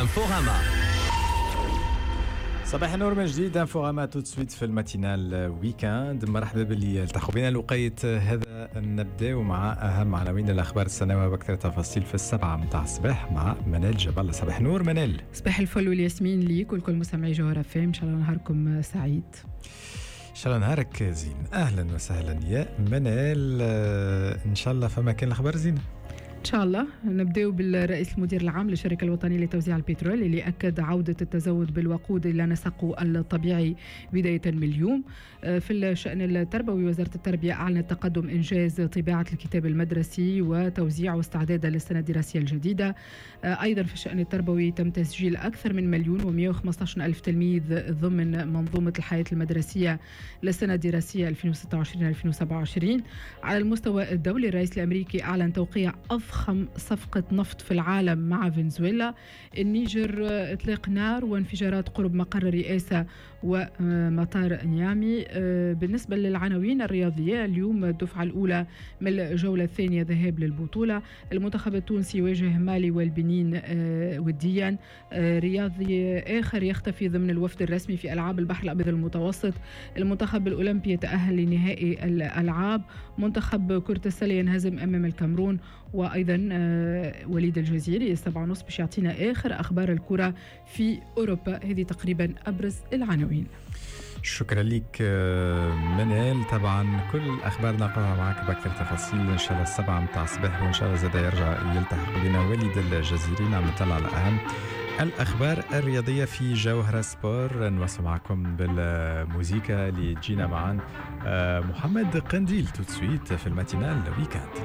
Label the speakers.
Speaker 1: Inforama.
Speaker 2: صباح النور من جديد، Inforama tout de suite في ال matinale week-end. مرحبا باللي التحقوا بنا الوقيت هذا. نبداو مع اهم عناوين الاخبار السنويه واكثر تفاصيل في 7 متاع الصباح مع منال جبل. صباح النور منال.
Speaker 3: صباح الفل والياسمين ليك ولكل مستمعي جوهرة FM، ان شاء الله نهاركم سعيد.
Speaker 2: ان شاء الله نهارك زين. اهلا وسهلا يا منال، ان شاء الله فما كان الاخبار زينه.
Speaker 3: إن شاء الله. نبداو بالرئيس المدير العام للشركة الوطنية لتوزيع البترول اللي أكد عودة التزود بالوقود إلى نسقه الطبيعي بداية من اليوم. في الشأن التربوي، وزارة التربية أعلنت تقدم إنجاز طباعة الكتاب المدرسي وتوزيعه استعدادا للسنة الدراسية الجديدة. أيضا في الشأن التربوي، تم تسجيل أكثر من 1,115,000 تلميذ ضمن منظومة الحياة المدرسية للسنة الدراسية 2026-2027. على المستوى الدولي، الرئيس الأمريكي أعلن توقيع أضخم صفقة نفط في العالم مع فنزويلا. النيجر، إطلاق نار وانفجارات قرب مقر الرئاسة ومطار نيامي. بالنسبة للعناوين الرياضية، اليوم الدفعة الأولى من الجولة الثانية ذهاب للبطولة. المنتخب التونسي يواجه مالي والبنين وديا. رياضي آخر يختفي ضمن الوفد الرسمي في ألعاب البحر الأبيض المتوسط. المنتخب الأولمبي يتأهل لنهائي الألعاب. منتخب كرة السلة ينهزم أمام الكاميرون. وأيضا وليد الجزيري 7:30 باش يعطينا آخر أخبار الكرة في أوروبا. هذه تقريبا أبرز العناوين.
Speaker 2: شكرا لك منال. طبعا كل الاخبار نلقاها معك باكثر تفاصيل ان شاء الله 7 متاع الصباح، وان شاء الله زاد يرجع يلتحق بنا وليد الجزيري، نعمل طلة على اهم الاخبار الرياضيه في جوهره Sport. نواصل معكم بالموزيكا اللي تجينا معا محمد قنديل tout de suite في ال matinale week-end.